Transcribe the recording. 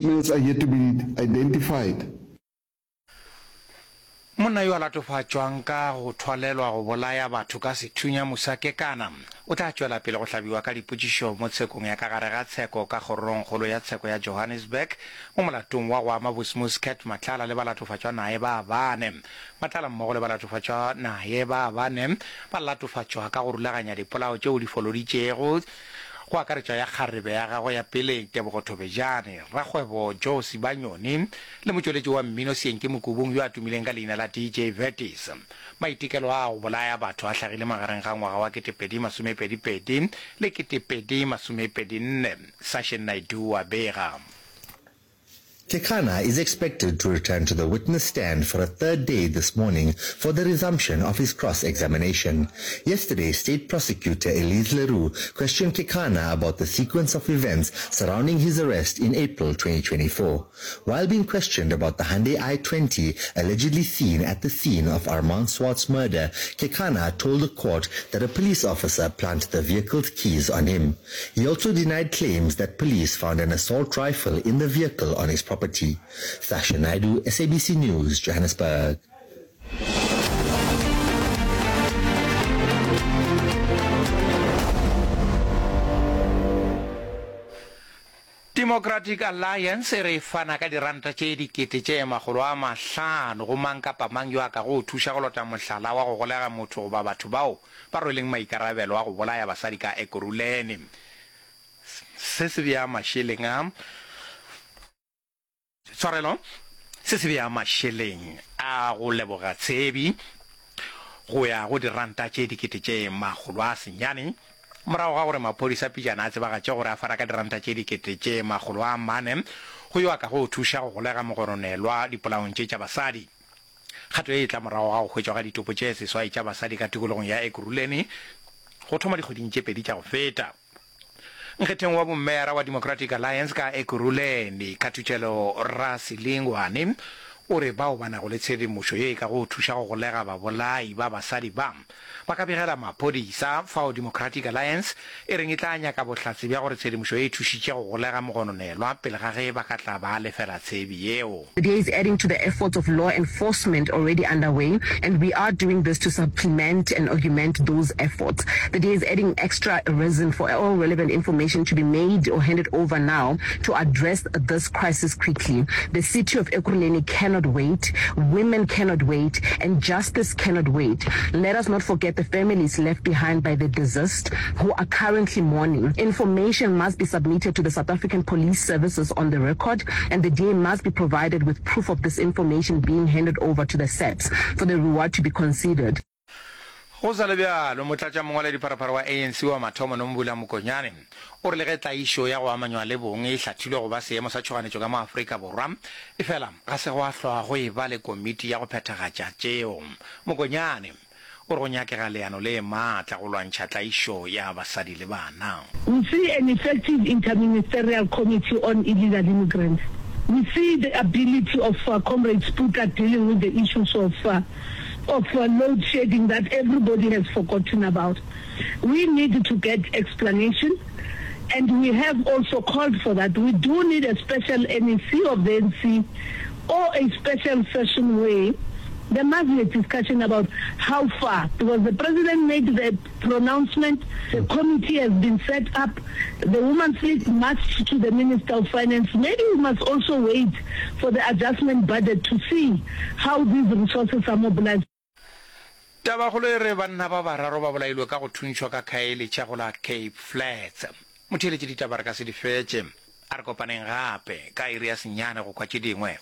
Males are yet to be identified. Monna yo a latofatšwang ka go thwalelwa go bolaya batho ka sethunya Musa Kekana o tla tšwela pele go hlabiwa ka dipotšišo mo tshekong ya ka gare ga tsheko ka Kgorongkgolo ya Tsheko ya Johannesburg mo molatong wa go ama Bosmus Cat Matlala le balatofatšwa naye ba bane. Matlala mmogo le balatofatšwa naye ba bane ba latofatšwa ka go rulaganya dipolao tšeo di foloditšego go akaretšwa ya kgarebe ya gagwe ya peleng Tebogo Thobejane, rakgwebo Joe Sibanyoni le motšweletši wa mmino Seenke Mokubung yo a tumileng ka leina la DJ Vertis. Maitekelo a a go bolaya batho a hlagile magareng ga ngwaga wa 2022 le 2024, Sashen Naidoo a bega. Kekana is expected to return to the witness stand for a third day this morning for the resumption of his cross-examination. Yesterday, State Prosecutor Elise Leroux questioned Kekana about the sequence of events surrounding his arrest in April 2024. While being questioned about the Hyundai i20 allegedly seen at the scene of Armand Swart's murder, Kekana told the court that a police officer planted the vehicle's keys on him. He also denied claims that police found an assault rifle in the vehicle on his property. Sasha Naidu, SABC News, Johannesburg. Democratic Alliance e re e fana ka diranta tše 500,000 go mang kapa mang yo a kago thuša go lota mohlala wa go golega motho goba batho bao ba rweleng maikarabelo a go bolaya basadi ka Ekurhuleni. Se se bea mašeleng a tshwarelo, se se bea mašeleng a go leboga tshebi go ya go diranta tše 900,000 morago ga gore maphodisa pejana a tsebagatše gore a fana ka diranta tše 400,000 go yo a kago thuša go golega mogononelwa dipolaong tše tša basadi. Kgato ye e tla morago ga go hwetšwa ga ditopo tše seswai tša basadi ka tikologong ya Ekurhuleni go thoma dikgweding tše pedi tša go feta. Nkgetheng wa bommeyara wa Democratic Alliance ka Ekurhuleni, Khathutšelo Rasilingwane, o re bao ba nago le tshedimošo ye e kago thuša go golega babolai ba basadi ba, ba ka begela maphodisa, fao Democratic Alliance e reng e tla nyaka bohlatse bja gore tshedimošo e thušitše go golega mogononelwa pele ga ge ba ka tla ba lefela tshebi yeo. The DA is adding to the efforts of law enforcement already underway and we are doing this to supplement and augment those efforts. The DA is adding extra reason for all relevant information to be made or handed over now to address this crisis quickly. The city of Ekurhuleni cannot wait, women cannot wait and justice cannot wait. Let us not forget the families left behind by the deceased who are currently mourning. Information must be submitted to the South African Police Services on the record and the DA must be provided with proof of this information being handed over to the SAPS for the reward to be considered. Go sa le bjalo, motlatšamongwaledipharephare wa ANC wa mathomo Nomvula Mokonyane o re le ge tlaišo ya go amanywa le bong e hlathilwe go ba seemo sa tšhoganetšo ka mo Afrika Borwa, efela ga se gwa hlwa go eba le komiti ya go phethagatša tšeo. Mokonyane o re go nyakega leano le maatla go lwantšha tlaišo ya basadi le bana. We see an effective interministerial committee on illegal immigrants. We see the ability of Comrade Sputla dealing with the issues of of load shedding that everybody has forgotten about. We need to get explanation and we have also called for that. We do need a special NEC of the ANC or a special session where there must be a discussion about how far, because the president made the pronouncement, the committee has been set up, the Women's League marched to the Minister of Finance. Maybe we must also wait for the adjustment budget to see how these resources are mobilized. Tabakgolo e re banna ba bararo ba bolailwe ka go thuntšhwa ka Khayelitsha go la Cape Flats. Motheeletši ditaba re ka se di fetše. A re kopaneng gape ka iri ya senyane go kwa tše dingwe.